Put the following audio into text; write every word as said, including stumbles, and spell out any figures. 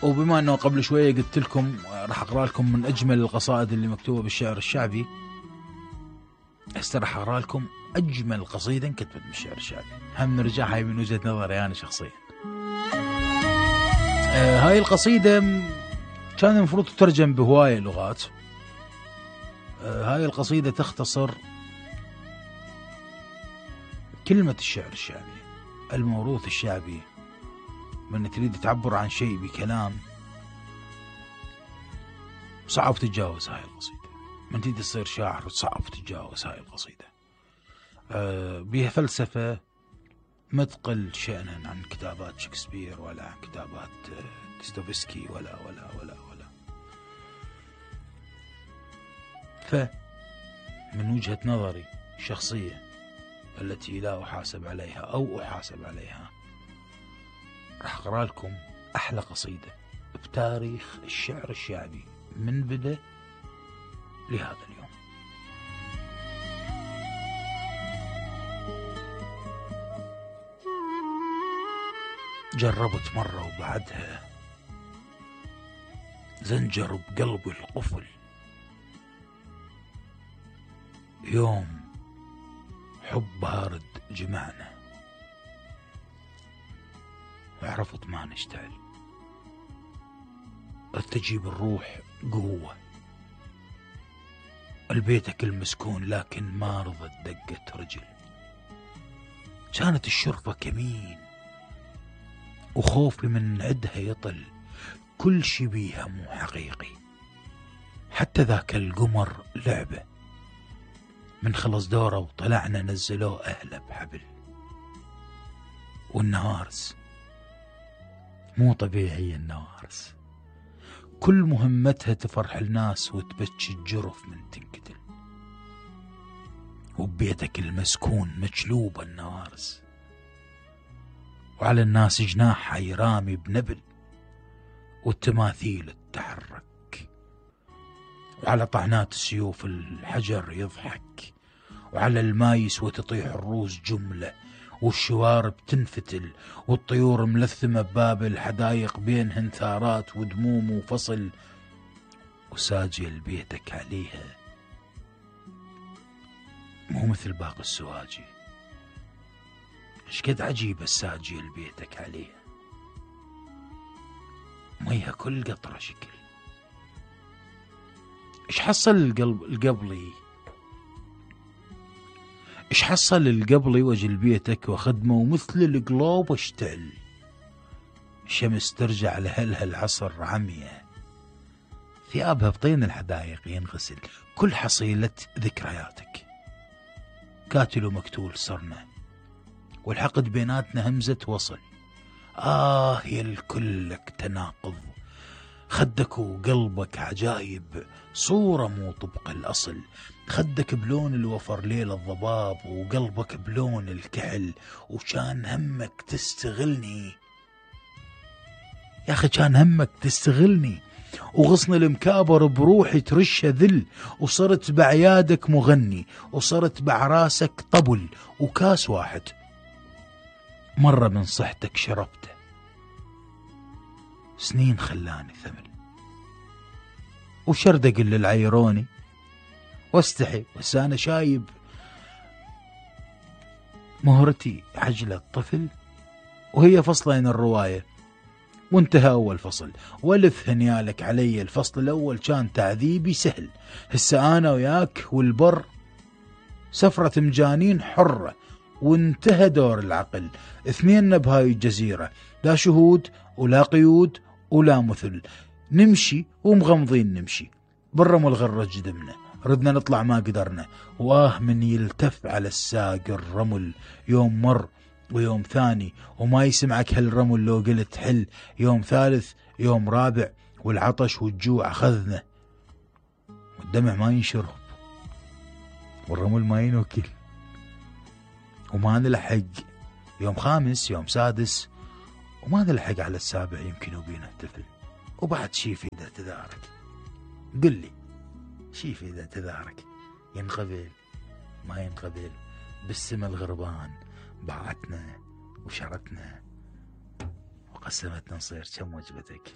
وبما أنه قبل شوية قلت لكم راح أقرأ لكم من أجمل القصائد اللي مكتوبة بالشعر الشعبي، هسه راح أقرأ لكم أجمل قصيدة انكتبت بالشعر الشعبي، هم نرجع هاي من وجهة نظري أنا شخصيا. آه هاي القصيدة كان المفروض تترجم بهواية لغات. آه هاي القصيدة تختصر كلمة الشعر الشعبي، الموروث الشعبي. من تريد تعبر عن شيء بكلام صعب تتجاوز هاي القصيدة، من تريد تصير شاعر صعب تتجاوز هاي القصيدة. آه بيها فلسفة مثقل شأنا عن كتابات شكسبير ولا عن كتابات ديستوفسكي ولا ولا ولا ولا فمن وجهة نظري الشخصية التي لا أحاسب عليها أو أحاسب عليها، راح أقرأ لكم أحلى قصيدة بتاريخ الشعر الشعبي من بدأ لهذا اليوم. جربت مرة وبعدها زنجر بقلبي القفل، يوم حب بارد جمعنا وعرفت ما نشتعل، ارتجي الروح قوة البيتك المسكون لكن ما رضت دقت رجل، كانت الشرفة كمين وخوفي من عدها يطل، كل شي بيها مو حقيقي، حتى ذاك القمر لعبة من خلص دوره وطلعنا نزلوه أهله بحبل، والنوارس مو طبيعي النوارس كل مهمتها تفرح الناس وتبكي الجرف من تنقتل، وببيتك المسكون مجلوبة النوارس وعلى الناس جناحها يرامي بنبل، والتماثيل تتحرك وعلى طعنات السيوف الحجر يضحك، وعلى المايس وتطيح الروس جملة، والشوارب تنفتل والطيور ملثمة بباب الحدايق بينهن ثارات ودموم وفصل، وساجي بيتك عليها مو مثل باقي السواجي، اشقد عجيبة الساجي بيتك عليها، ميها كل قطرة شكل، ايش حصل القلب القبلي ايش حصل القبلي وجل بيتك وخدمه ومثل القلوب اشتعل، الشمس ترجع لهلها العصر عمية، ثيابها بطين الحدايق ينغسل، كل حصيلة ذكرياتك كاتل ومقتول صرنا، والحقد بيناتنا همزة وصل، آه يا الكل لك تناقض، خدك وقلبك عجايب صورة مو طبق الأصل، خدك بلون الوفر ليل الضباب وقلبك بلون الكحل، وكان همك تستغلني يا أخي، كان همك تستغلني، وغصن المكابر بروحي ترشه ذل، وصرت بعيادك مغني وصرت بعراسك طبل، وكاس واحد مرة من صحتك شربته سنين خلاني ثمل، وشردق للعيروني واستحي بس أنا شايب مهرتي حجلة الطفل، وهي فصلين الرواية وانتهى أول فصل، والف هنيالك علي الفصل الأول كان تعذيبي سهل، هسه أنا وياك والبر سفرة مجانين حرة، وانتهى دور العقل، اثنين بهاي الجزيرة، لا شهود ولا قيود ولا مثل، نمشي ومغمضين نمشي بالرمل غرج دمنا، ردنا نطلع ما قدرنا، واه من يلتف على الساق الرمل، يوم مر ويوم ثاني وما يسمعك هالرمل، لو قلت حل يوم ثالث يوم رابع، والعطش والجوع أخذنا، والدمع ما ينشرب والرمل ما ينوكل، وما نلحق يوم خامس يوم سادس، وما نلحق على السابع يمكن وبينا الطفل، وبعد شي في ذا تدارك، قل لي شي في ذا تدارك، ينقبل ما ينقبل، بالسما الغربان باعتنا وشرتنا وقسمتنا نصير كم وجبتك،